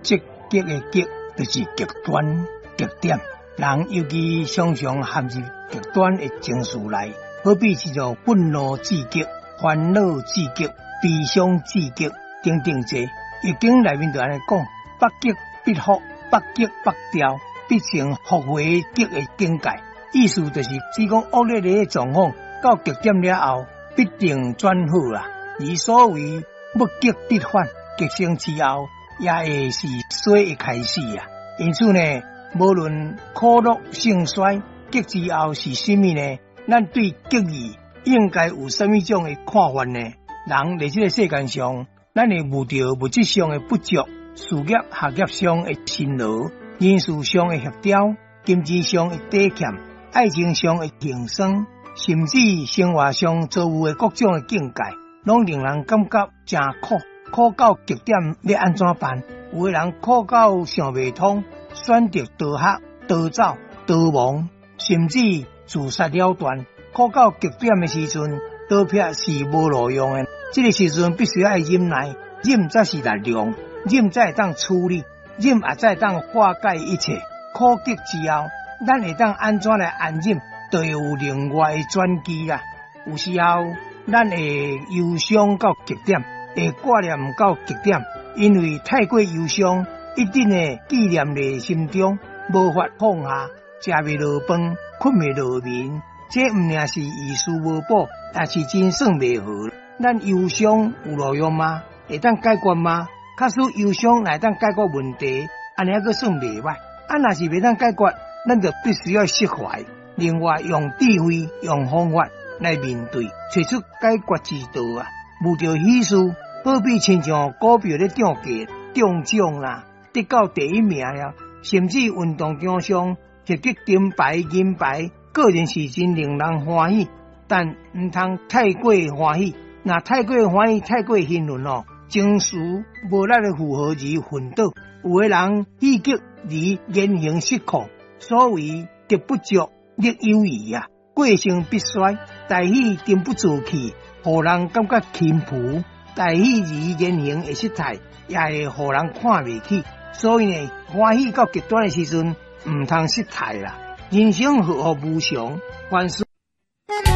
積極的極就是極端極點。人尤其常常陷入極端的情緒內，好比是做憤怒至極、煩惱至極、悲傷至極等等這。易經內面就按呢講：物極必復，物極必調，必成復回極的境界。意思就是指講惡劣的狀況到極點了後，必定轉好啦。而所謂物極必反，極盛之後，也會是衰的開始啊。因此呢，無論苦樂盛衰，極之後是啥物呢？咱對極字應該有啥物種的看法呢？人佇這个世間上，咱會遇著物質上的不足，事業學業上的辛勞，人事上的協調，金錢上的底欠，愛情上的辛酸，甚至生活上遭遇的各種的境界，攏令人感覺誠苦，苦到極點，欲按怎辦？有的人苦到想袂通，選擇逃學、逃走、逃亡，甚至自殺了斷。苦到極點的時陣，逃避是無路用的。這个時陣必須愛忍耐，忍才是力量，忍才會當處理，忍也才會當化解一切。苦極之後，咱會當按怎來安忍，就會有另外的轉機啦。有時候，咱會憂傷到極點，會掛念到極點，因為太過憂傷，一定會記念佇心中，無法放下，食袂落飯，睏袂落眠。這毋爾是於事無補，也是真算袂好。咱憂傷有路用嗎？會當解決嗎？假使憂傷會當解決問題，按呢猶閣算袂䆀。啊，若是袂當解決，咱就必須要釋懷。另外，用智慧、用方法來面對，揣出解決之道啊！遇著喜事，好比親像股票咧漲價、中獎啦，得到第一名了，甚至運動場上獲得金牌、銀牌，固然是真令人歡喜，但毋通太過歡喜。若太過歡喜、太過興奮哦，情緒無力的負荷而昏倒。有的人喜極而言行失控，所謂德不足，力有餘啊，過盛必衰。大喜沉不住氣，予人感覺輕浮；大喜而言行會失態，也會予人看袂起。所以呢，歡喜到極端的時陣，毋通失態啦。人生禍福無常，凡事